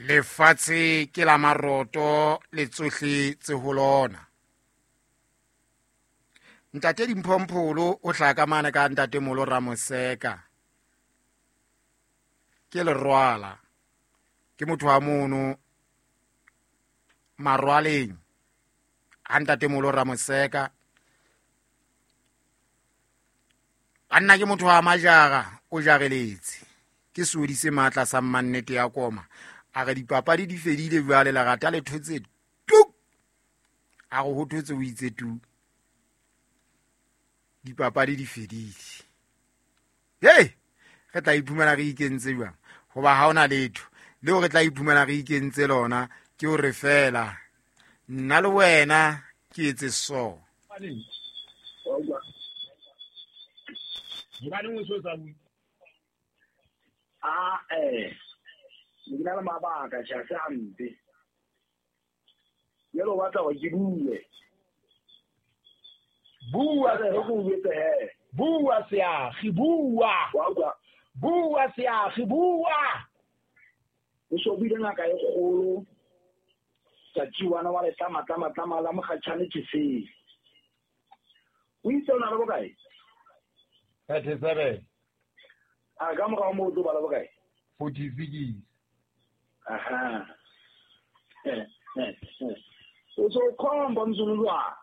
Lefatshe ke la maroto le tsohle tse ho lona. Ntate Dimphompholo o hlaka mane ka ntate Molo Ramoseka. Ke lerwala. Ke motho wa mono marwaleng. Ha ntate Molo Ramoseka. Banna ke motho wa majara o jareletse. Ke seodi se matla sa mmannete ya koma. A re dipapadi di fedile jwale lerata le thotse tuk. A re ho thotse o itse tu. Dipapadi di fedile. Hey, re tla iphumana re ikentse jwang? Hoba ha hona letho leo re tla iphumana re ikentse lona ke hore fela nna le wena ke etse so. Hobaneng o so sa bue? Ah, ke na le mabaka tjha se hampe. Jwale o batla hore ke bue. Bua re go bue he. Bua seagi, bua. Wa utlwa? Bua seagi, bua. O so buile ngaka e kgolo. Tsatsi wana wa le tlama tlama tlama la mokgatjhane ke se. O itse o na le bokae? 37. A ka morao moo o tlo bala bokae? 46. Aha. O so khomba mzulu jwang?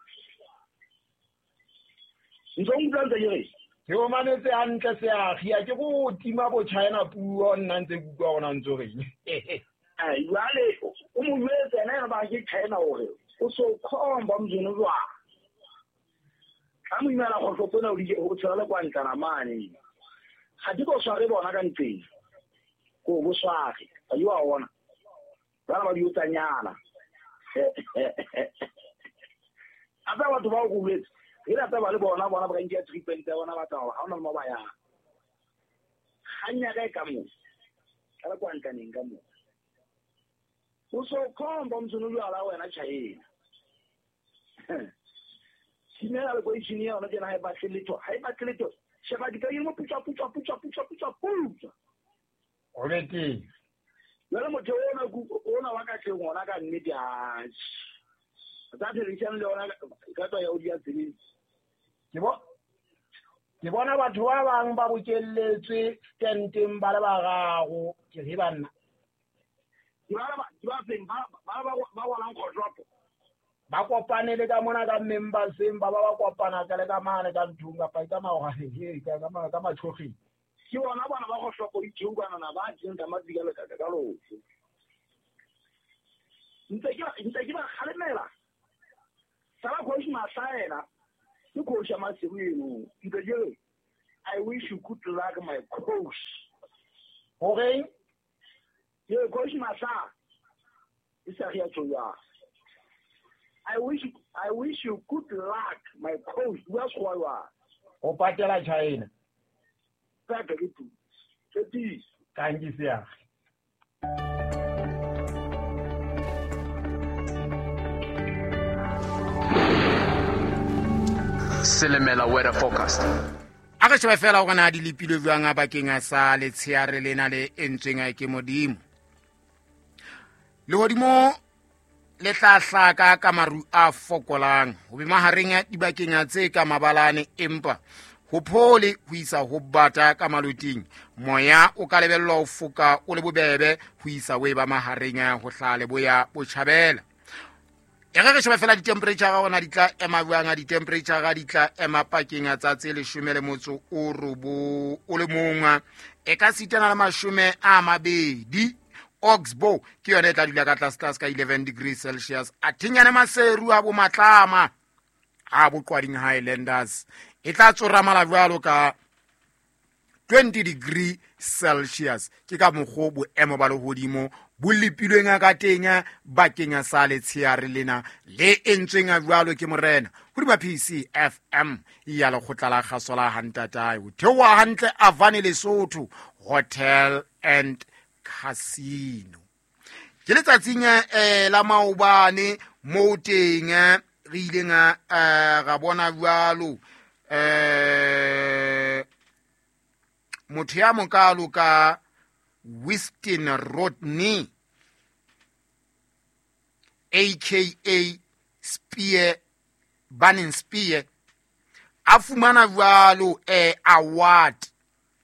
Ntse o utlwa ntse ke re? Ke o mametse hantle seagi, a ke go tima bo China puo nna ntse ke utlwa gona ntse o reng. Ai, jwale o mo jwetse ena ena ba ke China hore o so khomba mzulu jwang? Ka mo imela kgohlopo ena o di ho tshela le kwa ntlana mane. Ga di bo sware bona ka ntleng. Ko bo sware. Ba di wa bona. Bana ba di otsanyana. A tsa batho ba o go boletse. Re la taba le bona bona ba ka treatment ya bona ba tla ha ona le mo ba yang. Kganya ka e ka moo. Ka le kwa ntlaneng ka moo. O so khomba motsono jwala wena China. Simela le koishini ya ona tjena ha e batle letho, ha e batle letho. Sheba di ka mo putsa putsa putsa putsa putsa putsa. O be teng. Jwale motho ona ona wa ka tleng ona ka nnete a. Tsa television le ona ka tswa ya o dia tseleng. Ke bona batho ba bang ba bokelletswe stenteng ba le bararo, ke re banna. Ke ba feng ba ba walang kgohlopo. Ba kopane le ka mona ka memberseng, ba ba kopana ka le ka mane ka nthong kapa ka maoheng, ka ka matshogeng. Ke bona bana ba kgohlopo ditshungwana ba teng ka matsika le ka lotho. Ntse ke ba kgalemela. Sala coach Mahlaela, ke coach ya Maseru eno. Ntse ke re, I wish you good luck my coach. Horeng? Ye coach Mahla. E sa re ya tjho. I wish you good luck my coach. Bua sekgowa jwang? O patela China. Pepe ke tu. Tshepiso. Kanki seagi. Selemela weather forecast. A re shebe fela hore na di lepilwe jwang a bakeng a sa letsheare lena le entsweng ke Modimo. Lehodimo le tla hlaka ka maru a fokolang ho be mahareng a dibakeng tse ka mabalane, empa ho phole ho isa ho bata ka maloting. Moya o ka lebellwa ho foka o le bobebe ho isa o e ba mahareng a ho hlaha leboya botjhabela. E re re shebe fela di-temperature hore na di tla ema jwang, di-temperature di tla ema pakeng tsa tse 19 o le mong, e ka sitana le 20. Oxbow ke yona e tla dula ka tlase tlase ka 11 degrees Celsius. A thinyane Maseru a bo Matlama a bo Qwading Highlanders e tla tsoramala jwalo ka 20 degree Celsius. Ke ka mokgwa boemo ba lehodimo bo lepilweng ka teng bakeng sa letsheare lena le entsweng jwalo ke morena hodima PCFM ya lekgotla la kgaso la Hantatae. Ho theoha hantle Avane Lesotho Hotel and Casino. Ke letsatsing la maobane moo teng re ileng ra bona jwalo motho ya mokalo ka Winston Rodney Aka Spear, Burning Spear, a fumana jwalo award,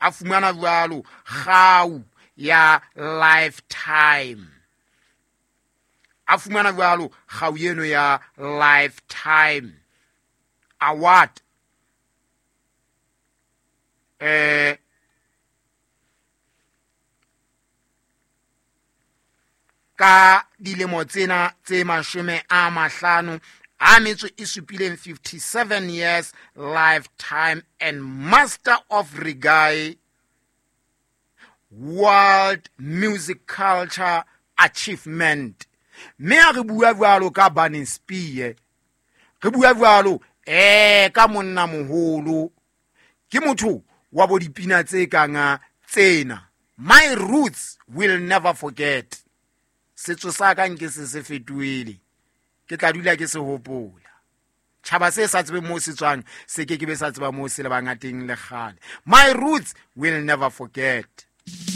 a fumana jwalo kgau ya lifetime, a fumana jwalo kgau eno ya lifetime award. Ka dilemo tsena tse 57, 57 years lifetime and master of reggae world music culture achievement. Mme a re bua jwalo ka Burning Spear, re bua jwalo ka monna moholo, ke motho wa bo dipina tse kang tsena, My Roots Will Never Forget, setso sa ka nke se se fetohile, ke tla dula ke se hopola. Tjhaba se sa tsebeng moo se tswang se ke ke be sa tseba moo se lebang teng le kgale. My Roots Will Never Forget.